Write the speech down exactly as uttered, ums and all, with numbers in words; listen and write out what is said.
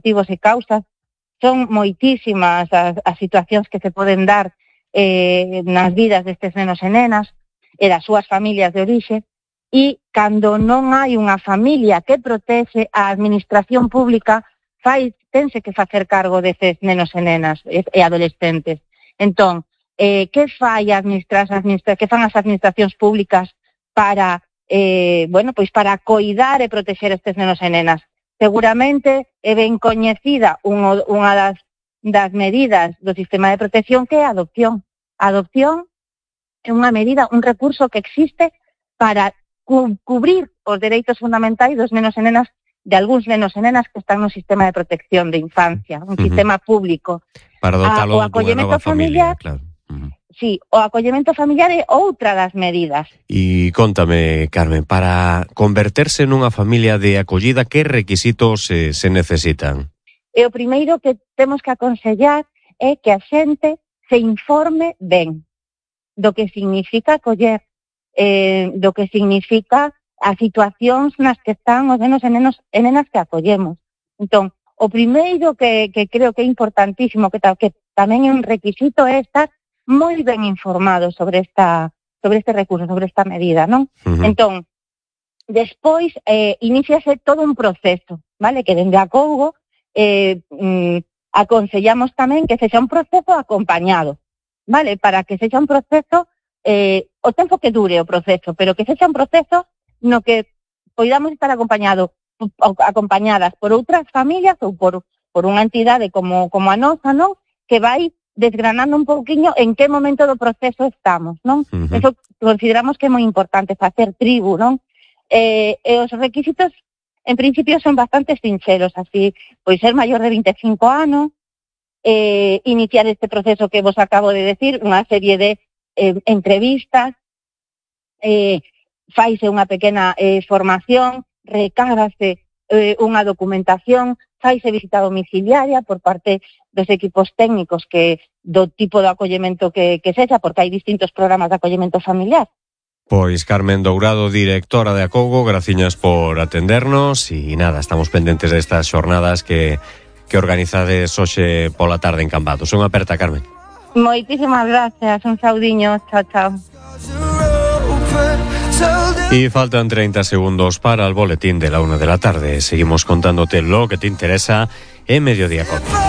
motivos e causas. Son moitísimas as, as situacións que se poden dar eh, nas vidas destes nenos e nenas e das súas familias de orixe, e cando non hai unha familia que protege, a administración pública fai, tense que facer cargo destes nenos e nenas e, e adolescentes. Entón, eh, que fai a administra, administra, que fan as administracións públicas para, eh, bueno, pois para coidar e protexer estes nenos e nenas? Seguramente é ben coñecida unha, unha das, das medidas do sistema de protección, que é a adopción. A adopción é unha medida, un recurso que existe para cu- cubrir os dereitos fundamentais dos nenos e nenas, de algúns nenos e nenas que están no sistema de protección de infancia, un uh-huh. sistema público. Para dotalo a, o acollemento familiar, familia, claro. Uh-huh. Sí, o acollemento familiar é outra das medidas. E contame, Carmen, para converterse nunha familia de acollida, que requisitos eh, se necesitan? E o primeiro que temos que aconsellar é que a xente se informe ben do que significa acoller, eh, do que significa as situacións nas que están os nenos e, nenos, e nenas que acollemos. Entón, o primeiro que, que creo que é importantísimo, que, que tamén é un requisito, é estar moi ben informado sobre esta sobre este recurso, sobre esta medida, non? Uh-huh. Entón, despois eh, iniciase todo un proceso, vale? Que dende a Acougo eh, mm, aconsellamos tamén que sexa un proceso acompañado, vale? Para que sexa un proceso, eh, o tempo que dure o proceso, pero que sexa un proceso no que poidamos estar acompañado, acompañadas por outras familias ou por, por unha entidade como, como a nosa, non? Que vai desgranando un pouquiño en que momento do proceso estamos, non? Uh-huh. Eso consideramos que é moi importante, facer tribu, non? Eh, e os requisitos, en principio, son bastante sinceros, así, pois ser maior de vinte e cinco anos, eh, iniciar este proceso que vos acabo de decir, unha serie de eh, entrevistas, eh, faise unha pequena eh, formación, recábase eh, unha documentación, faise visita domiciliaria por parte dos equipos técnicos que do tipo de acollemento que, que sexa, porque hai distintos programas de acollemento familiar. Pois Carmen Dourado, directora de Acougo, graciñas por atendernos e nada, estamos pendentes destas xornadas que, que organizades hoxe pola tarde en Cambados. Unha aperta, Carmen. Moitísimas gracias, un saudiño, chao, chao. Y faltan treinta segundos para el boletín de la una de la tarde. Seguimos contándote lo que te interesa en Mediodía Cope.